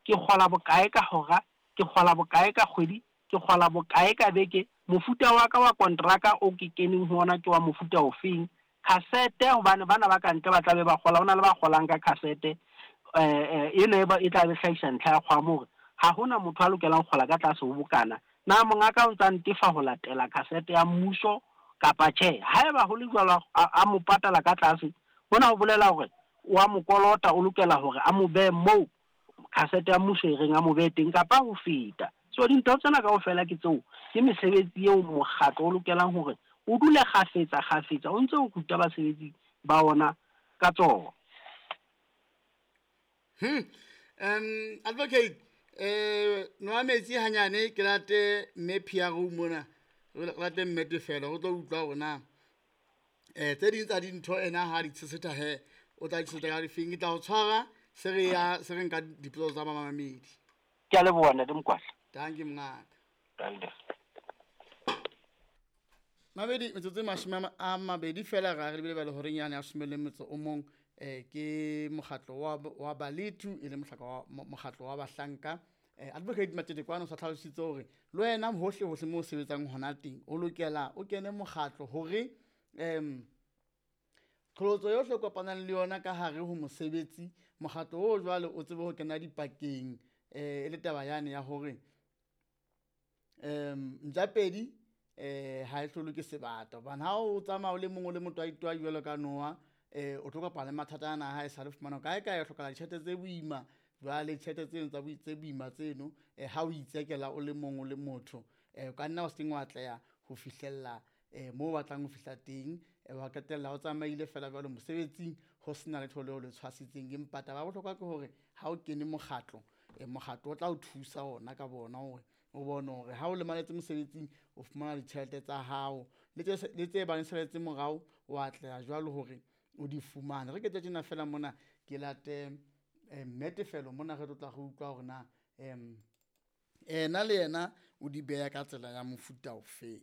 Ke kgola bokae ka hora? Ke kgola bokae ka kgwedi? Ke kgola bokae ka beke? Mofuta wa ka wa kontraka o ke keneng ho ona ke wa mofuta ofeng? Khasete, hobane bana ba kantle ba tla be ba kgola, ho na le ba kgolang ka khasete. Ena e ba e tla be hlahisa ntlha ya kgwamo hore ha hona motho a lokelang ho kgola ka tlase ho bokana. Na mongaka o ntsa ntefa ho latela khasete ya mmuso kapa tjhe? Haeba ho le jwalo a mo patala ka tlase, hona ho bolela hore o a mo kolota, o lokela hore a mo behe moo khasete ya mmuso e reng a mo behe teng kapa ho feta. So dintho tsena kaofela ke tseo, ke mesebetsi eo mokgatlo o lokelang hore o dule kgafetsa kgafetsa o ntse o ruta basebetsi ba ona ka tsona. Advocate, nwa metsi hanyane ke late mme PRO mona, re late mme Tefelo re tlo utlwa hore na tse ding tsa dintho ena ha di tshesetha he o tla di tshesetha ka difeng. Ke tla o tshwara se re ya se re nka dipotso tsa mamamedi. Ke a leboha ntate Mokwatla. Dankie mongaka. Dankie. Mabedi metsotso e mashome a mabedi fela ra re lebile ba le horeng yane ya some le metso o mong, ke mokgatlo wa Baletu e le mokgatlo wa bahlanka. Advocate Matete kwano o sa tlhalositse hore le wena hohle hohle mo o sebetsang hona teng o lokela o kene mokgatlo hore qholotso yohle o kopanang le yona ka hare ho mosebetsi, mokgatlo o jwale o tsebe ho kena dipakeng, e le taba yane ya hore ntjapedi ha e hlolwe ke sebata, hobane ha o tsamaya o le mong o le motwaitwai jwalo ka noha, o tlo kopana le mathata ana ha e sale fumana kae kae o hlokahala ditjhelete tse boima. Jwale ditjhelete tseno tsa tse boima tseno, ha o itsekela o le mong o le motho, o ka nna wa se keng wa atleha ho fihlella moo o batlang ho fihla teng, wa qetella o tsamaile fela jwalo mosebetsing ho sena letho leo le tshwasitseng. Empa taba ya bohlokwa ke hore ha o kene mokgatlo, mokgatlo o tla o thusa ona ka bona hore o bone hore ha o lemaletse mosebetsing o fumana ditjhelete tsa hao le tse bang saletse morao o atleha jwalo hore o di fumane. Re ke tjena fela mona ke late mme Tefelo mona re tlo tla re utlwa hore na ena le yena o di beha ka tsela ya mofuta ofeng.